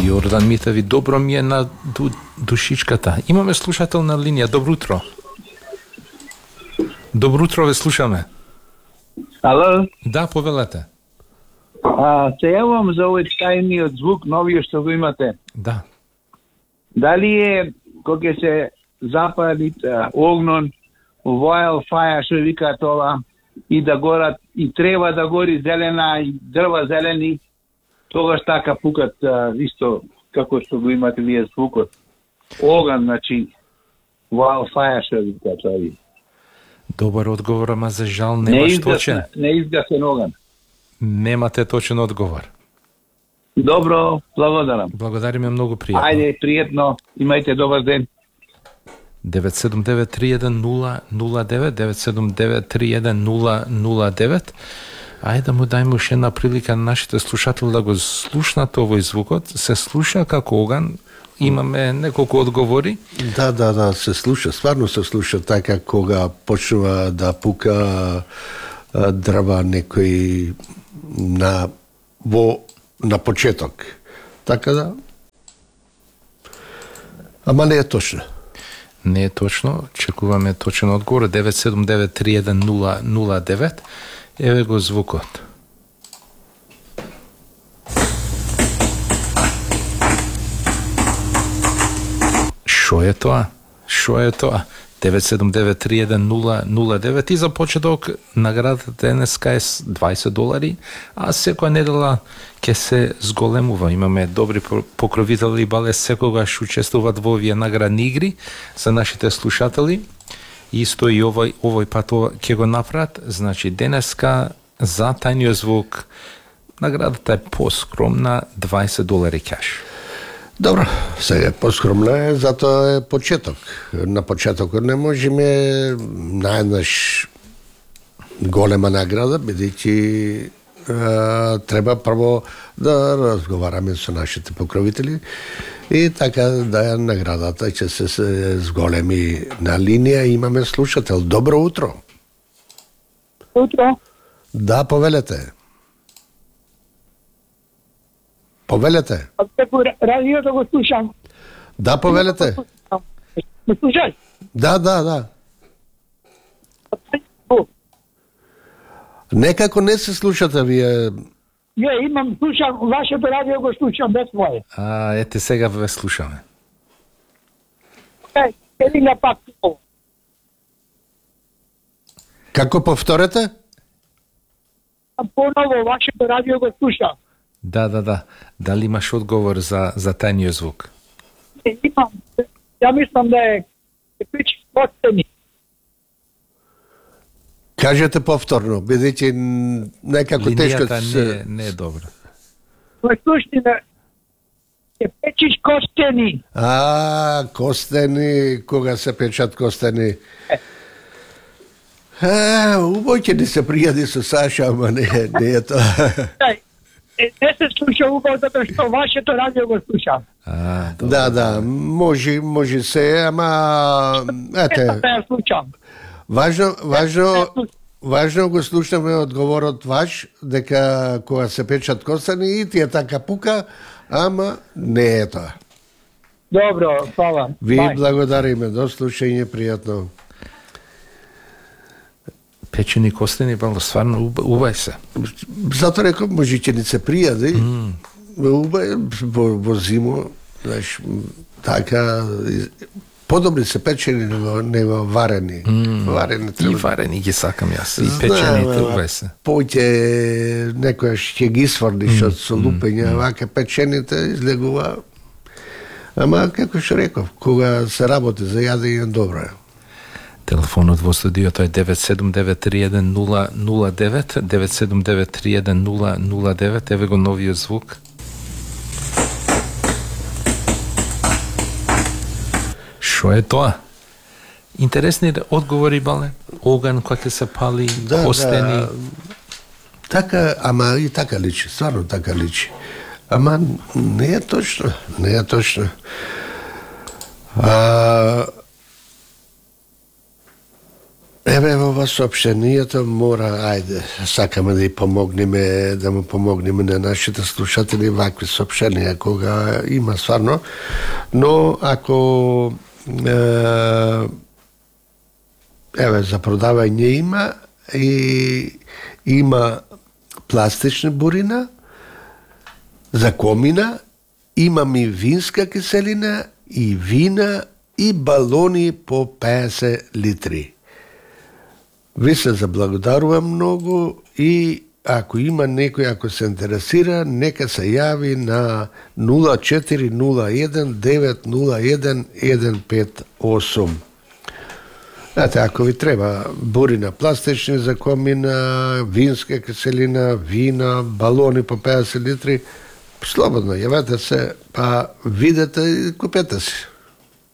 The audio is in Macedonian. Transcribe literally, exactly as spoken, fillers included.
Јордан Митеви, добро ми е на ду, душичката. Имаме слушател на линија. Добро утро. Добро утро, ве слушаме. Ало? Да, повелете. А, се јавам за овој тајниот звук, новиот што го имате. Да. Дали е, кога се запали огнон, wildfire, што вика тоа, и да горат, и треба да гори зелена, и дрва зелени, тогаш така пукат а, исто како што го имате вие звукот. Оган, значи, wildfire, што вика тоа. Добар одговор, ама за жал немаш не точен. Не изгасен оган. Немате точен одговор. Добро, благодарам. Благодариме многу пријатно. Ајде, пријатно, имајте добар ден. девет седум девет три еден нула нула девет, девет седум девет три еден нула нула девет. Ајде да му дајме уште една прилика на нашите слушатели да го слушнат овој звукот. Се слуша како оган. Имаме неколку одговори. Да, да, да, се слуша, стварно се слуша така кога почнува да пука дрва некој на во на почеток. Така да. Ама не е точно. Не е точно. Чекуваме точен одговор. девет седум девет три еден нула нула девет. Еве го звукот. Шо е тоа? Шо е тоа? девет седум девет три еден нула нула девет и за почеток наградата денеска е дваесет долари, а секоја недела ќе се зголемува. Имаме добри покровители, бале секогаш учествуваат во овие наградни игри за нашите слушатели. Исто и овој овој пат ќе го направат. Значи денеска за тајниот звук наградата е поскромна, дваесет долари кеш. Добро, сега поскромна е, затоа е почеток. На почетокот не можеме наеднаш голема награда, бидејќи треба прво да разговараме со нашите покровители и така да наградата ќе се, се зголеми. На линија имаме слушател. Добро утро. Утро. Да, повелете. Повелете. Преку радиото го слушам. Да, повелете. Ме слушаш? Да, да, да. Некако не се слушате вие. Не, имам, слушам, вашето радио го слушам без моје. А, ете сега ве слушаме. Е, еди на пак. Како повторете? Поново вашето радио го слушам. Да, да, да. Дали имаш одговор за, за тајниот звук? Не, имам. Ја мислам да е пич подцени. Кажете повторно, бидејќи некако тешко се... се... не, не е добро. Во суштина е печиш костени. А, костени, кога се печат костени. А, убаво ќе ни се пријади со Саша, ама не, не е тоа. Не се слуша убаво затоа што вашето радио го слушам. А, добро, да, да, може, може се, ама ете. Не ја слушам. Важно, важно, важно го слушаме одговорот ваш дека кога се печат костени и тие така пука, ама не е тоа. Добро, фала. Ви Bye. благодариме, до слушање, пријатно. Печени костени, бало, стварно убај се. Затоа реков, може ќе ни се пријади, mm. убај, во, во зимо, знаеш, така, подобри се печени него, него варени. Mm. Варени треба. И варени ги сакам јас, и печените убај се. Поќе некојаш ќе ги сврдиш од со лупење, mm. вака печените излегува. Ама, како што реков, кога се работи за јадење, добро е. Телефонот во студиото е девет седум девет три еден нула нула девет, девет седум девет три еден нула нула девет, еве го новиот звук. Шо е тоа? Интересни одговори, бале? Оган кој ќе се пали, да, костени. Да. Така, ама и така личи, стварно така личи. Ама не е точно, не е точно. А, Еве ова соопштението мора, ајде, сакаме да и помогнеме, да му помогнеме на нашите слушатели вакви соопштенија кога има стварно, но ако е, еве за продавање има и има пластична бурина за комина, имам и винска киселина и вина и балони по петдесет литри. Ви се заблагодарувам многу и ако има некој, ако се интересира, нека се јави на нула четири нула еден девет нула еден еден пет осум. Знаете, ако ви треба бурина пластични за комина, винска киселина, вина, балони по петдесет литри, слободно јавете се, па видете и купете си.